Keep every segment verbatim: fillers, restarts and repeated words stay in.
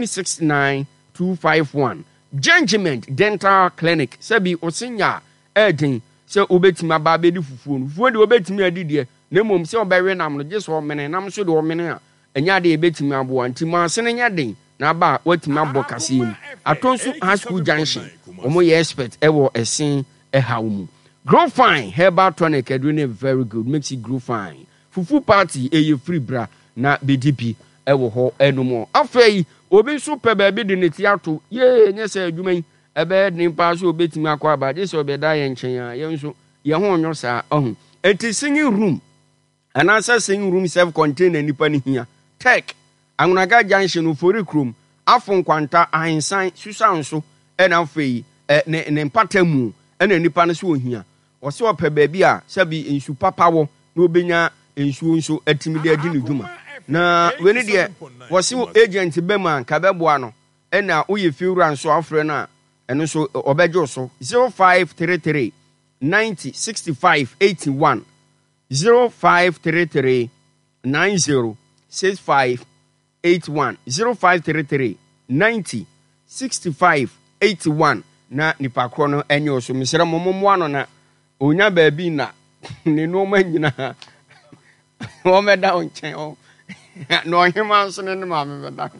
six nine two five one. Gengiment Dental Clinic, sɛbi ɔse nya a ɛɛden sɛ wobɛtumi aba abɛdi fufuo no. Fufuo deɛ wobɛtumi adi deɛ, na mmom sɛ wobɛwe nam no, gye sɛ ɔmene nam nso deɛ ɔmene a, ɛnyɛ adeɛ a ɛbɛtumi aboa. Nti ma ase no nyɛ den na aba a woatumi abɔ kaseɛ mu. Atonsu High School Junction, wɔn yɛ expert ɛwɔ ɛse ɛhaw mu. Grow Fine Herbal Tonic aduro no yɛ very good, makes it grow fine. Fufu party ɛyɛ free, bra na bɛdi bi ɛwɔ hɔ ɛnom. Afei obi nso pɛ baabi de ne ti ato yee, nyɛ sɛ adwuma yi ɛbɛyɛ den paa sɛ obɛtumi akɔ aba, gye sɛ ɔbɛda yɛn nkyɛn a yɛn nso yɛn ho nyɔ saa ɔho. Enti single room anaasɛ single room self container nipa no hia. Tech Anwonaga Junction, Ofori Kurom, Afo Nkwanta, Ahensan Susan so, ɛna afei ɛ ne ne mpata mu ɛna nipa no so ohia. Ɔsɛ ɔpɛ baabi a sɛbi nsu papa wɔ na obɛnya nsuo nso atumi de adi ne dwuma. Na wei ne deɛ wɔse agent bɛ mu a nka bɛboa no, ɛna woyɛ fiewura nso afrɛ no a, ɛno nso ɔbɛgye wo so. zero five three three ninety sixty-five eighty-one, zero five three three ninety sixty-five eighty-one, zero five three three ninety sixty-five eighty-one, na nipa korɔ no ɛnyɛ wo so. Mesrɛ mo, mommoa no na onya baabi na ne nneɛma nyinaa wɔmɛda wo nkyɛn ɔ na ɔhema nso ne ne maame bɛda.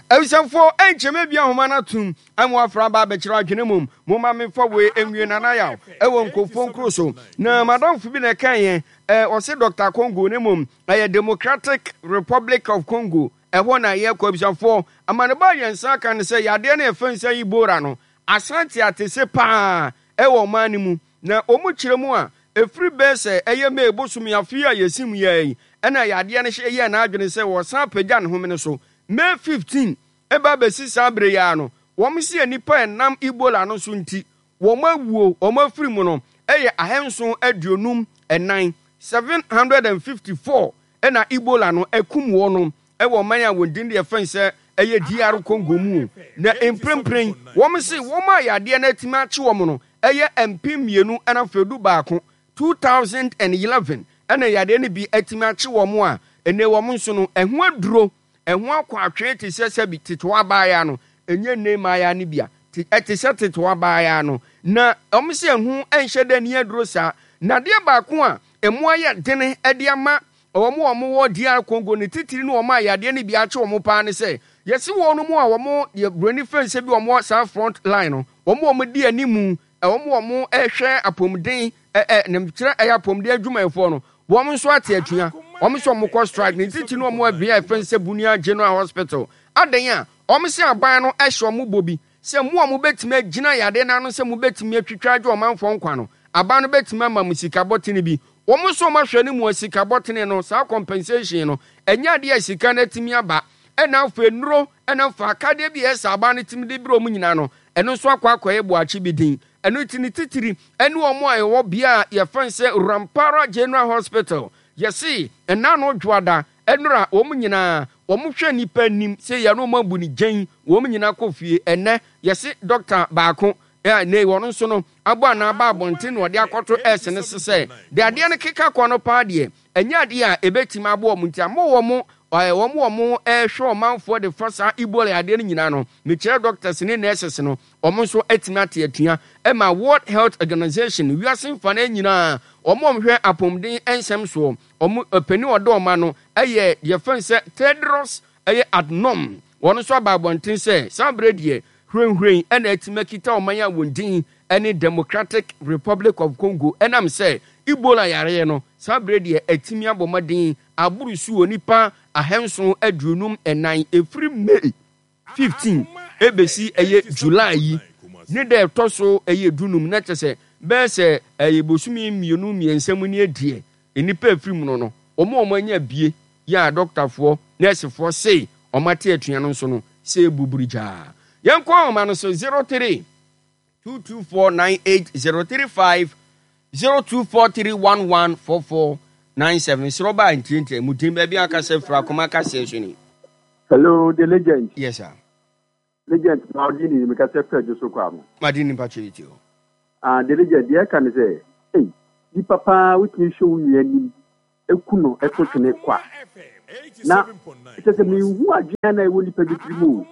Abusuafoɔ, ɛnkyɛmɛ bi ahoma no atom ama wafra aba abɛkyerɛ adwene mom. Momma memfa wei nwie. Nanayaw ɛwɔ nkurɔfoɔ nkuro so na madamfo bi na ɛka yɛn ɛ ɔse Doctor Congo ne mom ɛyɛ Democratic Republic of Congo, ɛhɔ na yɛkɔ. Abusuafoɔ, amaneba a yɛn nsa aka no sɛ yadeɛ no yɛfɛ nsa Ebola no asante atese paa ɛwɔ ɔman no mu, na wɔn kyerɛ mu a ɛfiri bɛɛ sɛ ɛyɛ May bosome afe a yɛsi mu yɛ yi, ɛna yadeɛ no hyɛ yɛ n'adwene sɛ wɔsan apagya ne home no so May fifteen ɛba bɛsi saa bere yi ara no. Wɔn si nnipa ɛnam Ebola no so nti wɔn awuo, wɔn afiri mu no ɛyɛ ahanson aduonum ɛnan, seven hundred and fifty four, ɛna Ebola no ɛkum wɔn no ɛwɔ ɔman a wɔn din deɛ fɛn sɛ ɛyɛ D R Congo mu. Na mprempren wɔn si wɔn a yadeɛ no atumi akye wɔn no ɛyɛ mpem mmienu ɛna afei du baako, two thousand and eleven, ɛna yadeɛ no bi atumi akye wɔn a ɛnɛ wɔn nso no ɛho aduro ɛho akɔ atwee te sɛ sɛbi tetewa abaayaa no, ɛnyɛ nne mmaayaa no bi a ɛte sɛ tetewa abaayaa no, na wɔn sɛ ɛho nhyɛ dɛ ni aduro saa. Na adeɛ baako a ɛmo ayɛ dene ɛde ama wɔn a wɔwɔ D R Congo ne titiri ne wɔn a yadeɛ no bi akye wɔn paa ne sɛ yɛsi wɔn mu a wɔn yɛ buroni fɛn sɛ bi wɔn wɔ saa front line no, wɔn a wɔn di animu, wɔn a wɔn ɛhwɛ apɔmuden ɛ ɛ ne kyerɛ ɛyɛ apɔmuden adwumayɛfoɔ no, wɔn nso ate atua. Wɔn nso wɔn kɔ strike ne titiri ne wɔn abea ɛfɛn sɛ Bunia General Hospital adan a wɔn sɛ aban no ɛhyɛ wɔn bɔ bi sɛ mo a mobɛtumi agyina yadeɛ no ano, sɛ mobɛtumi atwitwa agye ɔmanfoɔ nkwa no, aban no bɛtumi ama mo sika bɔtene bi. Wɔn nso wɔn ahwɛ no mu a sika bɔtene no, saa compensation no, ɛnyɛ adeɛ a sika no atumi aba. Ɛna afei nnuro ɛna fa akadeɛ bi a ɛsɛ aban no tumi de bere wɔn nyinaa no, ɛno nso akɔ akɔyɛ boakye bi din. Ɛno ti ne titiri ɛne wɔn a ɛwɔ bea a yɛfɛn sɛ Rampara General Hospital, yɛsi ɛna no dwoada ɛnora wɔn nyinaa wɔn hwɛ nipa anim sɛ yɛn no wɔn abu ne gyɛn, wɔn nyinaa kɔ fie. Ɛnɛ yɛsi dɔkta baako ɛ ne wɔn nso no abɔ anaa aba abɔnten na ɔde akɔto ɛsɛ ne sesɛ de adeɛ no keka kɔ no paa deɛ, ɛnyɛ adeɛ a ebɛtumi aboɔ wɔn, nti ama wɔn ɛɛ wɔn wɔn ɛrehwɛ ɔmanfoɔ de fa saa Ebola adeɛ no nyinaa no, mekyerɛ doctors ne nurses no, wɔn nso atumi ate atua ɛma World Health Organization, wiase mfa no nyinaa, wɔn a wɔhwɛ apɔmuden nsɛm soɔ, wɔn panin ɔdɔ ɔma no ɛyɛ deɛ fɛn sɛ Tedros ɛyɛ Adhanom, wɔn nso aba abɔnten sɛ saa berɛ deɛ hwirenhwiren ɛna atumi akita ɔman a wɔn din ɛne Democratic Republic of Congo, ɛnam sɛ Ebola yareɛ no saa berɛ deɛ atumi abɔ mmɔden aboro su wɔ nipa ahanson aduonum ɛnan efiri May fifteen ebesi ɛyɛ July yi ne dɛ ɛtɔ so ɛyɛ dunum, na kyɛ sɛ bɛyɛ sɛ ɛyɛ bosome mmienu mmiɛnsa mu ne adiɛ nnipa efiri mu no no wɔn a wɔn anya bie yɛ a dɔktafoɔ, nɛɛsefoɔ sei wɔn ate atua no nso no sɛ ebuburu gyaa. Yɛn kɔ ahoma no so: zero three two two four nine eight zero three five, zero two four three one one four four nine seven. Srɛ ɔbaa ntiantia mu din, baabi akasɛ fira akoma kaseɛ so ni. Hello, the legend. Yes sir. Legend, ma ɔdi ni mi kasa fɛ jo so kɔ ano. Madi nipa kyerɛ ti o. Ah, the legend, deɛ ɛka ne sɛ, ei, nipa paa wotumi hwɛ wo nua anim eku no ɛto twene kwa. Na kyerɛ sɛ menhu adwene na ɛwɔ nipa bi tiri mu o.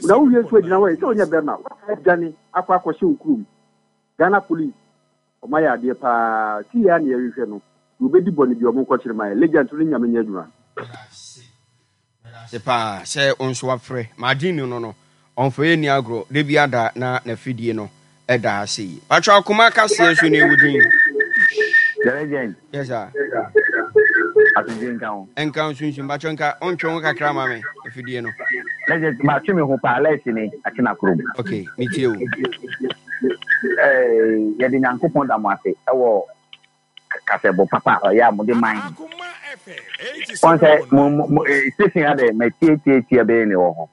Na wowie nso agyina hɔ yɛ sɛ wonyɛ bɛrima, woadwane akɔ akɔhyɛ wo kurom. Ghana Police, ɔma yɛ adeɛ paa. Si yɛ a na yɛhwehwɛ no, deɛ obɛdi bɔne bi ɔmo nkɔkyere ma yɛ. Legend no, Nyame nyɛ adwuma. Se paa sɛ wo nso wafrɛ maagye ni no no ɔmfa yɛ ni agorɔ da bi ada na n'afidie no ɛda ha sei. Patro, akoma kaseɛ so ne ɛwo din. The Legend. Yes sir. Asomdwe nka ho. Nka nsunsun. Patro, nka ɔntwe ho kakra ma me afidie no. Legend, matwe me ho paa lɛsi ne akyena kurom. Ok, metie wo. Eh, yɛde Nyankopɔn da mo ase ɛwɔ kasɛbɔ papa a ɔyɛ a mode man. Wɔn sɛ mo mo mo eh, station ha dɛ matietietie bɛyɛ ne wɔ hɔ.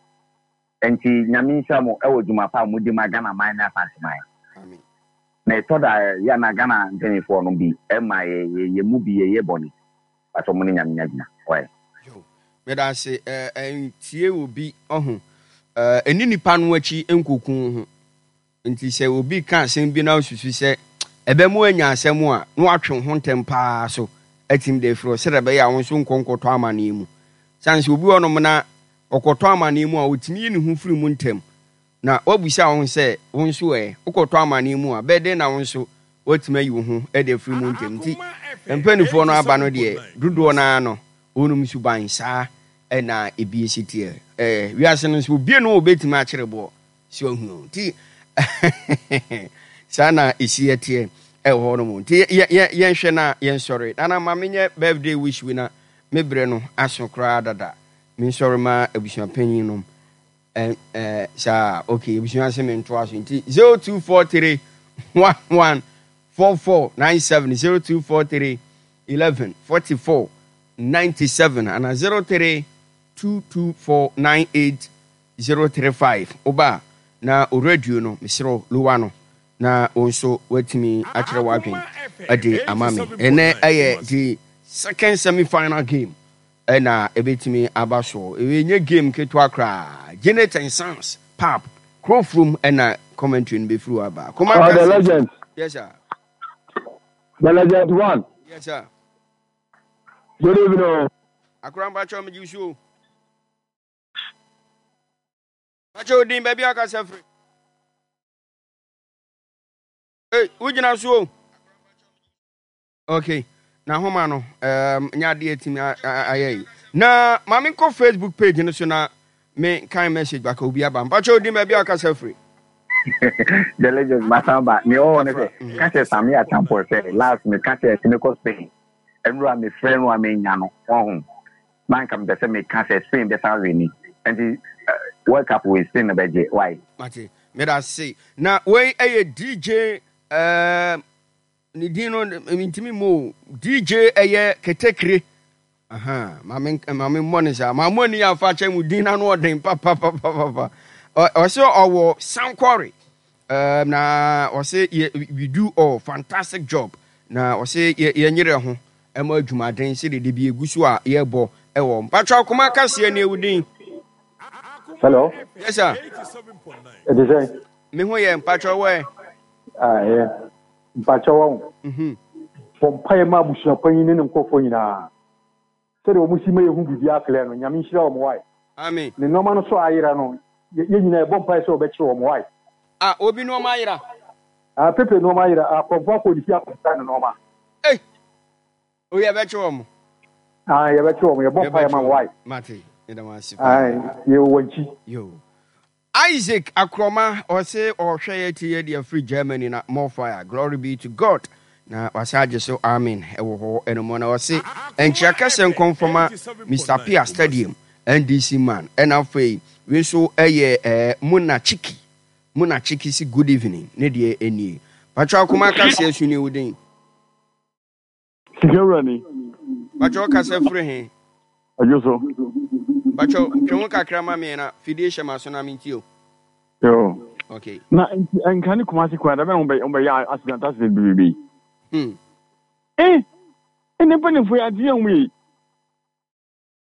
Nti Nyame nhyira mo ɛwɔ dwuma pa a mode ma Ghana man ne Asante man. Amen. Na ɛtɔ da yɛ na Ghana mpanimfoɔ no bi ɛma yɛ yɛ yɛ mu bi yɛyɛ bɔne. Patɔ mo ne Nyame nya adwuma. Wɔyɛ. Yo, meda ase. Ntie obi ɔho ɛni nipa no akyi nkoku ho. Nti sɛ obi ka asɛm bi na osusu sɛ ɛbɛmu anya asɛm a, na watwe ho ntɛm paa so atim de afiri hɔ sɛdeɛ ɛbɛyɛ a wo nso nkɔ nkɔtɔ amanneɛ mu. Sane sɛ obi wɔ nom na ɔkɔtɔ amanneɛ mu a, ɔtumi yi ne ho firi mu ntɛm. Na wabusa wo ho sɛ wo nso ɛ wokɔtɔ amanneɛ mu a, bɛyɛ dɛn na wo nso woatumi ayi wo ho de afiri mu ntɛm? Nti mpanimfoɔ no aba no deɛ, dodoɔ no ara no wɔnom suban saa ɛna ebi esi teɛ. Ɛɛ wiase no nso, obie no obetumi akyerɛ boɔ so ahu. Nti saa na esi ɛteɛ ɛwɔ hɔ nom. Nti yɛ yɛ yɛnhwɛ na yɛnsɔre. Nana, ma menyɛ birthday wish wi na me brɛ no aso koraa dada. Mensɔre ma abusuapanyin nom. ɛ ɛ saa, okay, abusua se mentoa so. Nti zero two four three one one four four nine seven, zero two four three eleven forty four ninety seven ana zero three two two four nine eight zero three five. Woba na o radio no, mesrɛ lower no na wo nso woatumi akyerɛ w'adwen de ama me. Ɛnɛ ɛyɛ the second semi final game ɛna ɛbɛtumi aba soɔ. Ɛnyɛ game ketewa koraa. Janet and Sons Pap kurofurom ɛna commentary no bɛfiri hɔ aba. Koma. Oh, the Legend. Yes sir. The Legend one. Yes sir. Good evening. Akora, mpakyɛ, megye so. Mpakyɛ, odin, baabi a akasa firi. Ei, wogyina so o. Okay, na homa no um, nyɛ adeɛ atumi ayɛ yi. Na ma menkɔ Facebook page no so na me kan message baka obi aba. Mpakyɛ, odin, baabi a akasa firi. The Legend, masan ba. Nea ɔwɔ ne sɛ ka kyerɛ Sami Achampɔ sɛ last me ka kyerɛ sɛ mekɔ Spain nnura, mefrɛ no a menya no ɔho na nka mepɛ sɛ meka sɛ Spain bɛsan win. Nti World Cup wei, Spain no bɛgye why. Mate, meda ase. Na wei ɛyɛ D J, uh, ne din no ntumi mu o. D J ɛyɛ Ketekire. Aha, maame maame mmɔ ne saa maame ani afa akyɛ mu din n'ano ɔden papapapapa. Ɔsɛ ɔwɔ Sankɔre, um, na ɔsɛ yɛ we do all fantastic job. Na ɔsɛ yɛ yɛnyerɛ ho ɛma adwumaden sɛ dede bi egu so a yɛbɔ ɛwɔ. Mpatwa, akoma kaseɛ ne ewu din. Hello. Yes sir. Ɛte sɛ? Me ho yɛ, mpatwa, wɔ ɛ. Ah, ɛyɛ. Mpakyɛ wɔn. Mhm. Bɔ mpaeɛ ma abusuapanyin ne ne nkurɔfoɔ nyinaa. Sɛdeɛ wɔn si ma yɛhu biribi aklɛ no, Nyame nhyira wɔn wae. Amen. Ne nneɛma no so ayera no, yɛ yɛn nyinaa yɛbɔ mpaeɛ sɛ wɔbɛkyerɛ wɔn wae. Ah, obi nneɛma ayera? Ah, Pepe nneɛma ayera, akɔmfo akɔ ne fie akɔsesa ne nneɛma. Ei, o, yɛbɛkye wɔn. Ah, yɛbɛkyerɛ wɔn, yɛbɔ mpaeɛ ma wɔn wae. Mate, yɛda mo ase Ah, paa. Yɛwɔ wɔn akyi. Yo. Isaac Akroma, ɔse ɔhwɛ yɛ ti yɛ de afiri Germany. Na more fire, glory be to God. Na wasa agye so amen ɛwɔ hɔ ɛno na ɔse nkyia kɛsɛ nkɔmfɔma Mister Pia Stadium N D C man. Ɛna afei wei nso ɛyɛ ɛɛ Muna Chiki. Muna Chiki si good evening, ne deɛ ɛnie. Patro, akoma kaseɛ so ne wo din. Sika wura ni. Patro, kasa firi he? Adwo so. Patro, twe ho kakra ma me na fidie hyɛ ma so na mentie o. Yo. Okay. Na nti nka ne Kumase kwan da bɛn wɔn bɛyɛ accident accident bebrebe. Hmm. Eh, ɛnna mpanimfoɔ yɛ adeɛ wɔn yi.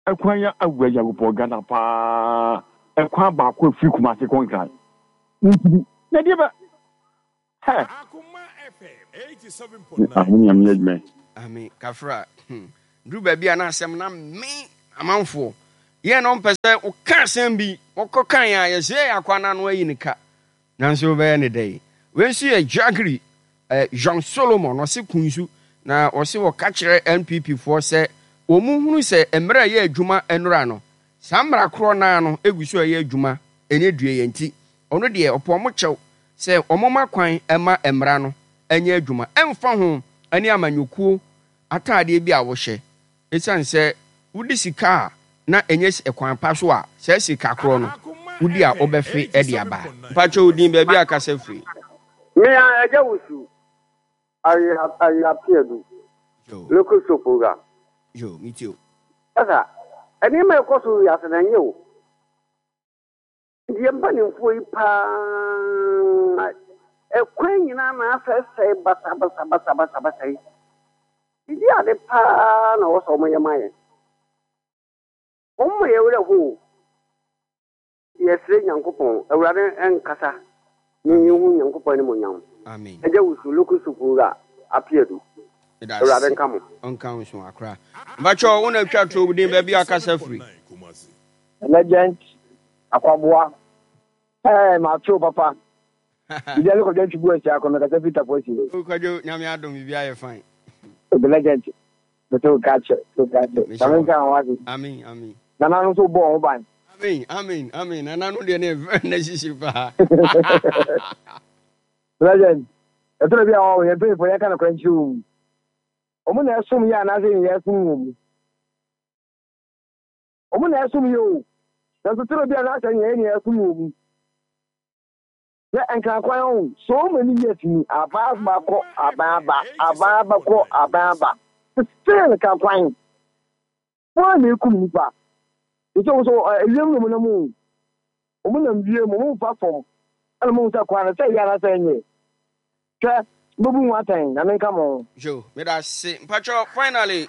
Ɛkwan yɛ awura Nyankopɔn Ghana paa. Ɛkwan baako efiri Kumase kɔ Nkran. Ntumi. Na deɛ bɛ hɛ. Ahun Nyame adwuma. Ami kafra. Hmm. Duru baabi a na asɛm na me amanfoɔ yɛn na ɔmpɛ sɛ woka asɛm bi wɔkɔ kan a yɛsɛ yɛ akɔ anano ayi ne ka. Nanso wobɛyɛ ne dɛn? Wei nso yɛ Jagri eh, Jean Solomon ɔse Kunsu na ɔse wɔka kyerɛ N P P foɔ sɛ wɔn hunu sɛ mmerɛ a ɛyɛ adwuma nnora no, saa mmara korɔ no ara no egu so a ɛyɛ adwuma ɛnyɛ due yɛn nti ɔno deɛ ɔpɛ wɔn kyɛw sɛ wɔn ma kwan ma mmara no nyɛ adwuma ɛmfa ho ne amanyɔkuo ataadeɛ bi a wohyɛ. Esiane sɛ wodi sika a na ɛnyɛ kwan pa so a, saa sika korɔ no wodi a wobɛfe de aba. Mpakyɛ wo din, baabi a kasa firi. Me a Agya Wusu Ayeapeadu, Local Soap Wura. Yo, me tie o. Sasa, nneɛma a ɛkɔ so wiase no ɛnyɛ o. Nti yɛn mpanimfoɔ yi paa ɛkwan nyinaa na asɛesɛe basabasabasabasa yi. Didi ade paa na wɔsɛ wɔn yɛ ma yɛn. Wɔn ma yɛ werɛ ho. Yɛsrɛ Nyankopɔn, Awurade nkasa ne yɛhu Nyankopɔn animuonyam. Amen. Agya Wusu, Local Soap Wura, Apeadu. Awurade nka mo. Ɔnka wo so akora. Mpakyɛ wo na atwa to din, baabi a kasa firi. Legend Akwaboa. Ɛɛ, mato papa. Biribi ale Kwadwo Antwi bu asia akɔ mekasa firi Tafoasi. Kwadwo, Nyame adom, biribi ayɛ fine. The legend. Mete wo ka kyɛ, te wo ka kyɛ. Nyame nka ho ase. Amen, amen. Nana no nso bɔ ho ban. Amen, amen, amen. Nana no deɛ ne very necessary paa. Legend. Ɛtɔ bi a ɔwɔ yɛn mpanyinfoɔ yɛn ka no kora nkyerɛ wɔn mu. Wɔn na ɛsom yɛ anaasɛ yɛn yɛ ɛsom wɔn mu. Wɔn na ɛsom yɛ o. Nanso toro bi a n'asɛ yɛn yɛ ɛsom wɔn mu. Yɛ Nkrankwan ho so many years ni, aban aba kɔ, aban aba, aban aba kɔ, aban aba, still Nkrankwan wɔn na ekum nipa. Nso wɔn so ewiem na wɔn nam o, wɔn nam wiem, wɔn nfa fam, ɛna wɔn sɛ kwan no sɛ yɛ anasɛ nyɛ hwɛ bɛbu ho atɛn na menka mo. Yo, meda ase. Mpakyɛ, finally